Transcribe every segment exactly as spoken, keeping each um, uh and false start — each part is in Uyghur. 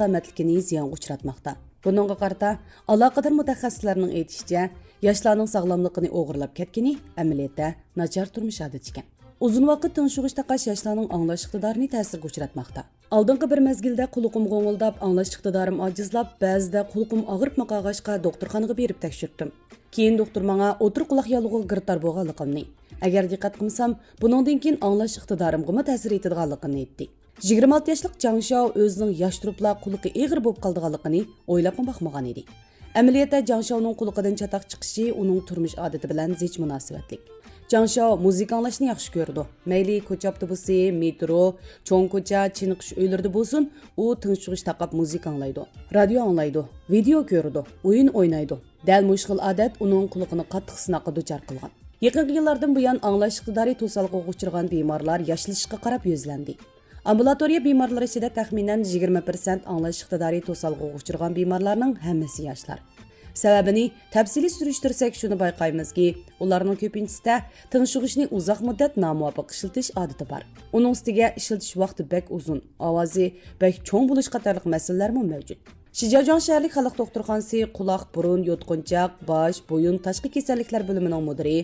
سالامەتلىكىنى زىيانغا ئۇچراتماقتا. بۇنىڭغا قارىتا، ئالاقىدار مۇتەخەسسىسلەرنىڭ ئېيتىشىچە، ياشلارنىڭ ساغلاملىقىنى ئوغرىلاپ كەتكىنى ئەمەلىيەتتە ناچار تۇرمۇش ئادىتى ئىكەن. ئۇزۇن ۋاقىت تىڭشىغۇچ تاقاش ياشلارنىڭ ئاڭلاش ئىقتىدارىنى تەسىرگە ئۇچراتماقتا. ئالدىنقى بىر مەزگىلدە قۇلىقىم غوڭۇلداپ، ئاڭلاش ئىقتىدارىم ئاجىزلاپ، بەزىدە قۇلىقىم ئاغرىپمۇ قالغاچقا، دوختۇرخانىغا بېرىپ تەكشۈرتتۈم. كېيىن دوختۇر ماڭا ئوتتۇرا قۇلاق ياللۇغىغا گىرىپتار بولغانلىقىمنى، ئەگەر دىققەت قىلمىسام، بۇنىڭدىن كېيىن ئاڭلاش ئىقتىدارىمغىمۇ تەسىر يېتىدىغانلىقىنى ئېيتتى. يىگىرمە ئالتە ياشلىق جاڭ شياۋ ئۆزىنىڭ ياش تۇرۇپلا قۇلىقى ئېغىر بولۇپ قالىدىغانلىقىنى ئويلاپمۇ باقمىغان ئىدى. ئەمەلىيەتتە جاڭ شياۋنىڭ قۇلىقىدىن چاتاق چىقىشى ئۇنىڭ تۇرمۇش ئادىتى بىلەن زىچ مۇناسىۋەتلىك. جاڭ شياۋ مۇزىكا ئاڭلاشنى ياخشى كۆرىدۇ. مەيلى كوچا ئاپتوبۇسى، مېترو، چوڭ كوچا، چېنىقىش ئۆيلىرىدە بولسۇن، ئۇ تىڭشىغۇچ تاقاپ مۇزىكا ئاڭلايدۇ، رادىيو ئاڭلايدۇ، ۋىدېئو كۆرىدۇ، ئويۇن ئوينايدۇ. دەل مۇشۇ خىل ئادەت ئۇنىڭ قۇلىقىنى قاتتىق سىناققا دۇچار قىلغان. يېقىنقى يىللاردىن بۇيان ئاڭلاش ئىقتىدارى توسالغۇغا ئۇچرىغان بىمارلار ياشلىشىشقا قاراپ يۈزلەندى. ئامبۇلاتورىيە بىمارلىرى ئىچىدە تەخمىنەن يىگىرمە پىرسەنت ئاڭلاش ئىقتىدارى توسالغۇغا ئۇچرىغان بىمارلارنىڭ ھەممىسى ياشلار. سەۋەبىنى تەپسىلىي سۈرۈشتۈرسەك، شۇنى بايقايمىزكى، ئۇلارنىڭ كۆپىنچىسىدە تىڭشىغۇچنى ئۇزاق مۇددەت نامۇۋاپىق ئىشلىتىش ئادىتى بار. ئۇنىڭ ئۈستىگە ئىشلىتىش ۋاقتى بەك ئۇزۇن، ئاۋازى بەك چوڭ بولۇش قاتارلىق مەسىلىلەرمۇ مەۋجۇت. شىجياجۇاڭ شەھەرلىك خەلق دوختۇرخانىسى قۇلاق، بۇرۇن، يوتقۇنچاق، باش، بويۇن، تاشقى كېسەللىكلەر بۆلۈمىنىڭ مۇدىرى،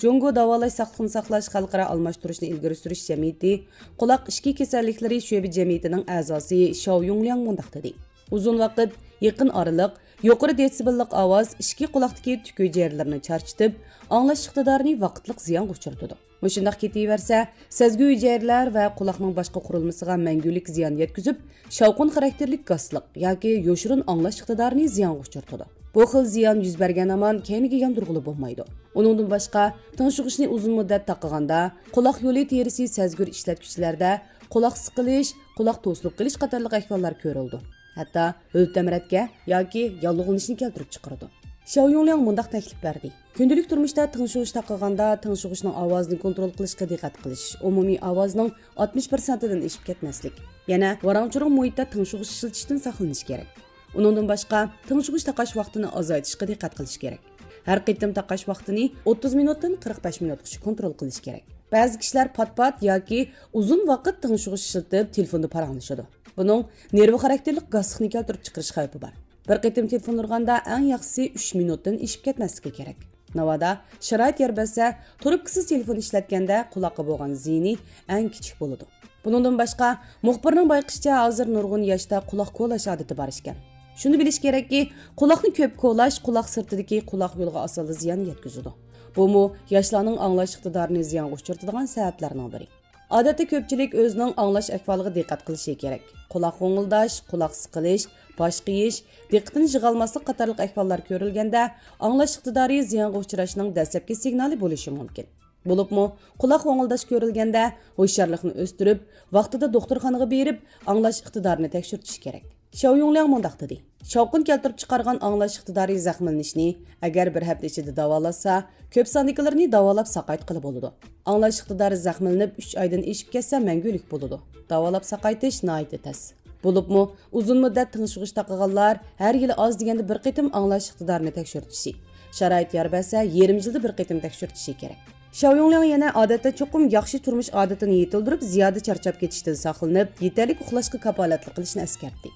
جۇڭگو داۋالاش ساقلىقنى ساقلاش خەلقئارا ئالماشتۇرۇشنى ئىلگىرى سۈرۈش جەمئىيىتى قۇلاق ئىچكى كېسەللىكلىرى شۆبە جەمئىيىتىنىڭ ئەزاسى شياۋ يۇڭلياڭ مۇنداق دېدى: ئۇزۇن ۋاقىت، يېقىن ئارىلىق، يۇقىرى دېتسىبېللىق ئاۋاز ئىچكى قۇلاقتىكى تۈك ھۈجەيرىلىرىنى چارچىتىپ، ئاڭلاش ئىقتىدارىنى ۋاقىتلىق زىيانغا ئۇچرىتىدۇ. مۇشۇنداق كېتىۋەرسە، سەزگۈ ھۈجەيرىلەر ۋە قۇلاقنىڭ باشقا قۇرۇلمىسىغا مەڭگۈلۈك زىيان يەتكۈزۈپ، شاۋقۇن خاراكتېرلىك گاسلىق ياكى يوشۇرۇن ئاڭلاش ئىقتىدارىنى زىيانغا ئۇچرىتىدۇ. بۇ خىل زىيان يۈز بەرگەن ھامان كەينىگە ياندۇرغىلى بولمايدۇ. ئۇنىڭدىن باشقا، تىڭشىغۇچنى ئۇزۇن مۇددەت تاقىغاندا، قۇلاق يولى تېرىسى سەزگۈر ئىشلەتكۈچىلەردە قۇلاق سىقىلىش، قۇلاق توسۇلۇپ قېلىش قاتارلىق ئەھۋاللار كۆرۈلىدۇ. ھەتتا ھۆل-تەمرەتكە ياكى ياللۇغلىنىشنى كەلتۈرۈپ چىقىرىدۇ. شياۋ يۇڭلياڭ مۇنداق تەكلىپ بەردى: كۈندىلىك تۇرمۇشتا تىڭشىغۇچ تاقىغاندا، تىڭشىغۇچنىڭ ئاۋازىنى كونترول قىلىشقا دىققەت قىلىش، ئومۇمىي ئاۋازنىڭ ئاتمىش پىرسەنتىدىن ئېشىپ كەتمەسلىك، يەنە ۋاراڭ-چۇرۇڭ مۇھىتتا تىڭشىغۇچ ئىشلىتىشتىن ساقلىنىش كېرەك. ئۇنىڭدىن باشقا، تىڭشىغۇچ تاقاش ۋاقتىنى ئازايتىشقا دىققەت قىلىش كېرەك. ھەر قېتىم تاقاش ۋاقتىنى ئوتتۇز مىنۇتتىن قىرىق بەش مىنۇتقىچە كونترول قىلىش كېرەك. بەزى كىشىلەر پات-پات ياكى ئۇزۇن ۋاقىت تىڭشىغۇچ ئىشلىتىپ، تېلېفوندا پاراڭلىشىدۇ. بۇنىڭ نېرۋا خاراكتېرلىك گاسلىقنى كەلتۈرۈپ چىقىرىش خەۋپى بار. بىر قېتىم تېلېفون ئۇرغاندا ئەڭ ياخشىسى ئۈچ مىنۇتتىن ئېشىپ كەتمەسلىكى كېرەك. ناۋادا شارائىت يار بەرسە، تۇرۇپكىسىز تېلېفون ئىشلەتكەندە قۇلاققا بولغان زىيىنى ئەڭ كىچىك بولىدۇ. بۇنىڭدىن باشقا، مۇخبىرنىڭ بايقىشىچە، ھازىر نۇرغۇن ياشتا قۇلاق كولاش ئادىتى بار ئىكەن. شۇنى بىلىش كېرەككى، قۇلاقنى كۆپ كولاش قۇلاق سىرتىدىكى قۇلاق يولىغا ئاسانلا زىيان يەتكۈزىدۇ. بۇمۇ ياشلارنىڭ ئاڭلاش ئىقتىدارىنى زىيانغا ئۇچرىتىدىغان سەۋەبلەرنىڭ بىرى. ئادەتتە كۆپچىلىك ئۆزىنىڭ ئاڭلاش ئەھۋالىغا دىققەت قىلىشى كېرەك. قۇلاق غوڭۇلداش، قۇلاق سىقىلىش، باش قېيىش، دىققىتىنى يىغالماسلىق قاتارلىق ئەھۋاللار كۆرۈلگەندە، ئاڭلاش ئىقتىدارى زىيانغا ئۇچراشنىڭ دەسلەپكى سىگنالى بولۇشى مۇمكىن. بولۇپمۇ، قۇلاق غوڭۇلداش كۆرۈلگەندە، ھوشيارلىقنى ئۆستۈرۈپ، ۋاقتىدا دوختۇرخانىغا بېرىپ، ئاڭلاش ئىقتىدارىنى تەكشۈرتۈش كېرەك. شياۋ يۇڭلياڭ مۇنداق دېدى: شاۋقۇن كەلتۈرۈپ چىقارغان ئاڭلاش ئىقتىدارى زەخىملىنىشنى ئەگەر بىر ھەپتە ئىچىدە داۋالاتسا، كۆپ ساندىكىلىرىنى داۋالاپ ساقايتقىلى بولىدۇ. ئاڭلاش ئىقتىدارى زەخىملىنىپ ئۈچ ئايدىن ئېشىپ كەتسە، مەڭگۈلۈك بولىدۇ. داۋالاپ ساقايتىش ناھايىتى تەس. بولۇپمۇ، ئۇزۇن مۇددەت تىڭشىغۇچ تاقىغانلار ھەر يىلى ئاز دېگەندە بىر قېتىم ئاڭلاش ئىقتىدارىنى تەكشۈرتۈشى، شارائىت يار بەرسە، يېرىم يىلدا بىر قېتىم تەكشۈرتۈشى كېرەك. شياۋ يۇڭلياڭ يەنە ئادەتتە چوقۇم ياخشى تۇرمۇش ئادىتىنى يېتىلدۈرۈپ، زىيادە چارچاپ كېتىشتىن ساقلىنىپ، يېتەرلىك ئۇخلاشقا كاپالەتلىك قىلىشنى ئەسكەرتتى.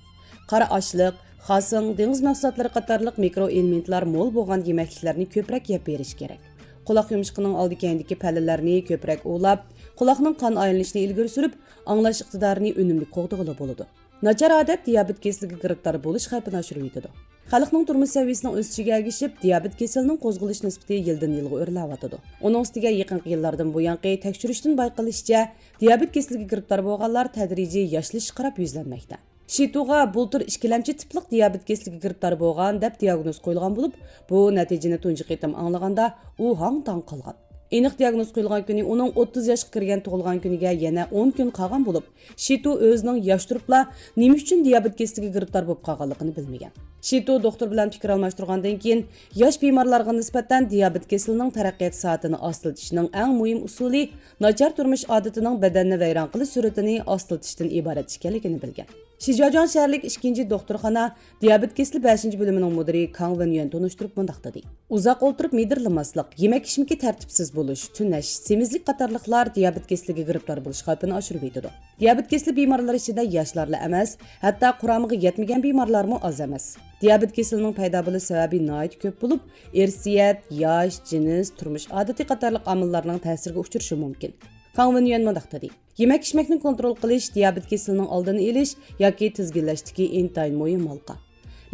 قارا ئاشلىق، خاسىڭ، دېڭىز مەھسۇلاتلىرى قاتارلىق مىكرو ئېلېمېنتلار مول بولغان يېمەكلىكلەرنى كۆپرەك يەپ بېرىش كېرەك. قۇلاق يۇمشىقىنىڭ ئالدى كەينىدىكى پەللىلەرنى كۆپرەك ئۇۋىلاپ، قۇلاقنىڭ قان ئايلىنىشىنى ئىلگىرى سۈرۈپ، ئاڭلاش ئىقتىدارىنى ئۈنۈملۈك قوغدىغىلى بولىدۇ. ناچار ئادەت دىيابېت كېسىلىگە گىرىپتار بولۇش خەۋپىنى ئاشۇرۇۋېتىدۇ. خەلقنىڭ تۇرمۇش سەۋىيەسىنىڭ ئۆسۈشىگە ئەگىشىپ، دىيابېت كېسىلىنىڭ قوزغىلىش نىسبىتى يىلدىن يىلغا ئۆرلەۋاتىدۇ. ئۇنىڭ ئۈستىگە يېقىنقى يىللاردىن بۇيانقى تەكشۈرۈشتىن بايقىلىشىچە، دىيابېت كېسىلىگە گىرىپتار بولغانلار تەدرىجىي ياشلىشىشقا قاراپ يۈزلەنمەكتە. شىتۇغا بۇلتۇر ئىككىلەمچى تىپلىق دىيابېت كېسىلىگە گىرىپتار بولغان دەپ دىياگنوز قويۇلغان بولۇپ، بۇ نەتىجىنى تۇنجى قېتىم ئاڭلىغاندا ئۇ ھاڭ-تاڭ قالغان. ئېنىق دىياگنوز قويۇلغان كۈنى ئۇنىڭ ئوتتۇز ياشقا كىرگەن تۇغۇلغان كۈنىگە يەنە ئون كۈن قالغان بولۇپ، شىتۇ ئۆزىنىڭ ياش تۇرۇپلا نېمە ئۈچۈن دىيابېت كېسىلىگە گىرىپتار بولۇپ قالغانلىقىنى بىلمىگەن. شىتۇ دوختۇر بىلەن پىكىر ئالماشتۇرغاندىن كېيىن، ياش بىمارلارغا نىسبەتەن دىيابېت كېسىلىنىڭ تەرەققىيات سائىتىنى ئاستىلىتىشنىڭ ئەڭ مۇھىم ئۇسۇلى ناچار تۇرمۇش ئادىتىنىڭ بەدەننى ۋەيران قىلىش سۈرئىتىنى ئاستىلىتىشتىن ئىبارەت ئىكەنلىكىنى بىلگەن. شىجياجياڭ شەھەرلىك ئىككىنچى دوختۇرخانا دىيابېت كېسىلى بەشىنچى بۆلۈمىنىڭ مۇدىرى كاڭ ۋېنيۈەن تونۇشتۇرۇپ مۇنداق دېدى: ئۇزاق ئولتۇرۇپ مىدىرلىماسلىق، يېمەك-ئىچمىكى تەرتىپسىز بولۇش، تۈنەش، سېمىزلىك قاتارلىقلار دىيابېت كېسىلىگە گىرىپتار بولۇش خەۋپىنى ئاشۇرۇۋېتىدۇ. دىيابېت كېسىلى بىمارلىرى ئىچىدە ياشلارلا ئەمەس، ھەتتا قۇرامىغا يەتمىگەن بىمارلارمۇ ئاز ئەمەس. دىيابېت كېسىلىنىڭ پەيدا بولۇش سەۋەبى ناھايىتى كۆپ بولۇپ، ئىرسىيەت، ياش، جىنس، تۇرمۇش ئادىتى قاتارلىق ئامىللارنىڭ تەسىرىگە ئۇچرىشى مۇمكىن. خاڭ ۋېنيۈەن مۇنداق دېدى: يېمەك-ئىچمەكنى كونترول قىلىش دىيابېت كېسىلىنىڭ ئالدىنى ئېلىش ياكى تىزگىنلەشتىكى ئىنتايىن مۇھىم ھالقا.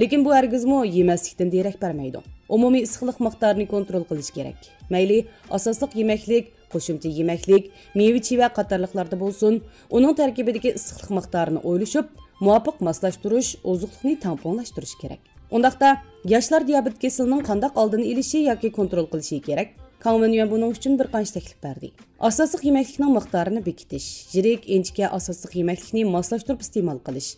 لېكىن بۇ ھەرگىزمۇ يېمەسلىكتىن دېرەك بەرمەيدۇ. ئومۇمىي ئىسسىقلىق مىقدارىنى كونترول قىلىش كېرەك. مەيلى ئاساسلىق يېمەكلىك، قوشۇمچە يېمەكلىك، مېۋە-چىۋە قاتارلىقلاردا بولسۇن، ئۇنىڭ تەركىبىدىكى ئىسسىقلىق مىقدارىنى ئويلىشىپ، مۇۋاپىق ماسلاشتۇرۇش، ئوزۇقلۇقنى تەڭپۇڭلاشتۇرۇش كېرەك. ئۇنداقتا، ياشلار دىيابېت كېسىلىنىڭ قانداق ئالدىنى ئېلىشى ياكى كونترول قىلىشى كېرەك؟ كاڭ ۋېنيۈەن بۇنىڭ ئۈچۈن بىر قانچە تەكلىپ بەردى. ئاساسلىق يېمەكلىكنىڭ مىقدارىنى بېكىتىش، يىرىك، ئىنچىكە ئاساسلىق يېمەكلىكنى ماسلاشتۇرۇپ ئىستېمال قىلىش،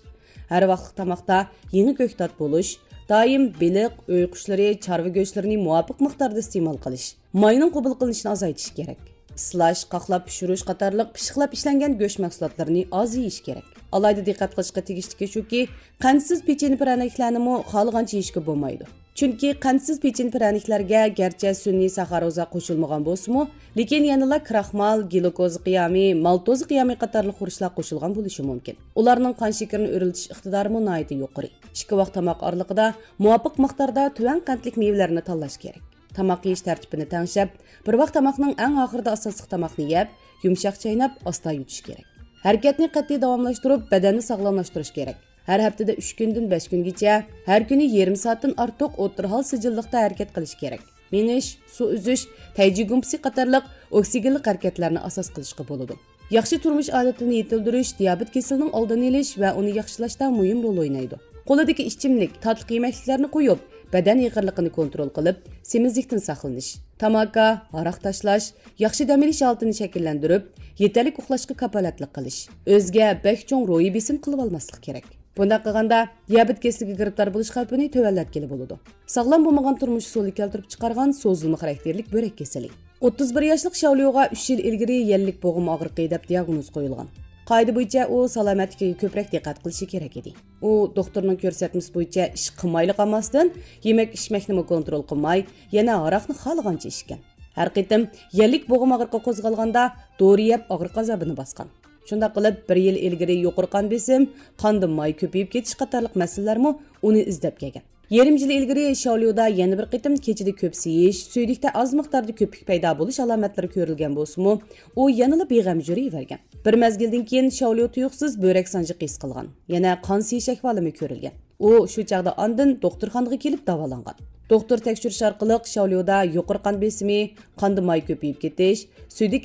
ھەر ۋاقىتلىق تاماقتا يېڭى كۆكتات بولۇش، دائىم بېلىق، ئۆي قۇشلىرى، چارۋا گۆشلىرىنى مۇۋاپىق مىقداردا ئىستېمال قىلىش، ماينىڭ قوبۇل قىلىنىشىنى ئازايتىش كېرەك. ئىسلاش، قاقلاپ پىشۇرۇش قاتارلىق پىششىقلاپ ئىشلەنگەن گۆش مەھسۇلاتلىرىنى ئاز يېيىش كېرەك. ئالاھىدە دىققەت قىلىشقا تېگىشلىكى شۇكى، قەنتسىز پېچىنە پىرەنىكلەرنىمۇ خالىغانچە يېيىشكە بولمايدۇ. چۈنكى قەنتسىز پېچىنە پىرەنىكلەرگە گەرچە سۈنئىي ساخاروزا قوشۇلمىغان بولسىمۇ، لېكىن يەنىلا كراخمال، گلۇكوزا قىيامى، مالتوزا قىيامى قاتارلىق خۇرۇچلار قوشۇلغان بولۇشى مۇمكىن. ئۇلارنىڭ قان شېكىرىنى ئۆرلىتىش ئىقتىدارىمۇ ناھايىتى يۇقىرى. ئىككى ۋاق تاماق ئارىلىقىدا مۇۋاپىق مىقداردا تۆۋەن قەنتلىك مېۋىلەرنى تاللاش كېرەك. تاماق يېيىش تەرتىپىنى تەڭشەپ، بىر ۋاق تاماقنىڭ ئەڭ ئاخىرىدا ئاساسلىق تاماقنى يەپ، يۇمشاق چايناپ، ئاستا يۇتۇش كېرەك. ھەرىكەتنى قەتئىي داۋاملاشتۇرۇپ، بەدەننى ساغلاملاشتۇرۇش كېرەك. ھەر ھەپتىدە ئۈچ كۈندىن بەش كۈنگىچە، ھەر كۈنى يېرىم سائەتتىن ئارتۇق ئوتتۇرا ھال سىجىللىقتا ھەرىكەت قىلىش كېرەك. مېڭىش، سۇ ئۈزۈش، تەيجى گۇمپىسى قاتارلىق ئوكسىگېنلىق ھەرىكەتلەرنى ئاساس قىلىشقا بولىدۇ. ياخشى تۇرمۇش ئادىتىنى يېتىلدۈرۈش دىيابېت كېسىلىنىڭ ئالدىنى ئېلىش ۋە ئۇنى ياخشىلاشتا مۇھىم رول ئوينايدۇ. قولىدىكى ئىچىملىك، تاتلىق يېمەكلىكلەرنى قويۇپ، بەدەن ئېغىرلىقىنى كونترول قىلىپ، سېمىزلىكتىن ساقلىنىش. تاماكا، ھاراق تاشلاش، ياخشى دەم ئېلىش ھالىتىنى شەكىللەندۈرۈپ، يېتەرلىك ئۇخلاشقا كاپالەتلىك قىلىش. ئۆزىگە بەك چوڭ روھىي بېسىم قىلىۋالماسلىق كېرەك. بۇنداق قىلغاندا، دىيابېت كېسىلىگە گىرىپتار بولۇش خەۋپىنى تۆۋەنلەتكىلى بولىدۇ. ساغلام بولمىغان تۇرمۇش ئۇسۇلى كەلتۈرۈپ چىقارغان سوزۇلما خاراكتېرلىك بۆرەك كېسىلى. ئوتتۇز بىر ياشلىق شاۋليۇغا ئۈچ يىل ئىلگىرى يەللىك بوغۇم ئاغرىقى دەپ دىئاگنوز قويۇلغان. قائىدە بويىچە ئۇ سالامەتلىكىگە كۆپرەك دىققەت قىلىشى كېرەك ئىدى. ئۇ دوختۇرنىڭ كۆرسەتمىسى بويىچە ئىش قىلمايلا قالماستىن، يېمەك-ئىچمەكنىمۇ كونترول قىلماي، يەنە ھاراقنى خالىغانچە ئىچكەن. ھەر قېتىم يەللىك بوغۇم ئاغرىقى قوزغالغاندا، دورا يەپ ئاغرىق ئازابىنى باسقان. شۇنداق قىلىپ، بىر يىل ئىلگىرى يۇقىرى قان بېسىم، قاندا ماي كۆپىيىپ كېتىش قاتارلىق مەسىلىلەرمۇ ئۇنى ئىزدەپ كەلگەن. يېرىم يىل ئىلگىرى شاۋليۇدا يەنە بىر قېتىم كېچىدە كۆپ سىيىش، سۈيدۈكتە ئاز مىقداردا كۆپۈك پەيدا بولۇش ئالامەتلىرى كۆرۈلگەن بولسىمۇ، ئۇ يەنىلا بىغەم يۈرۈۋەرگەن. بىر مەزگىلدىن كېيىن شاۋليۇ تۇيۇقسىز بۆرەك سانجىقى ھېس قىلغان، يەنە قان سىيىش ئەھۋالىمۇ كۆرۈلگەن. ئۇ شۇ چاغدا ئاندىن دوختۇرخانىغا كېلىپ داۋالانغان. دوختۇر تەكشۈرۈش ئارقىلىق شاۋليۇدا يۇقىرى قان بېسىمى، قاندا ماي كۆپىيىپ كېتىش، سۈيدۈك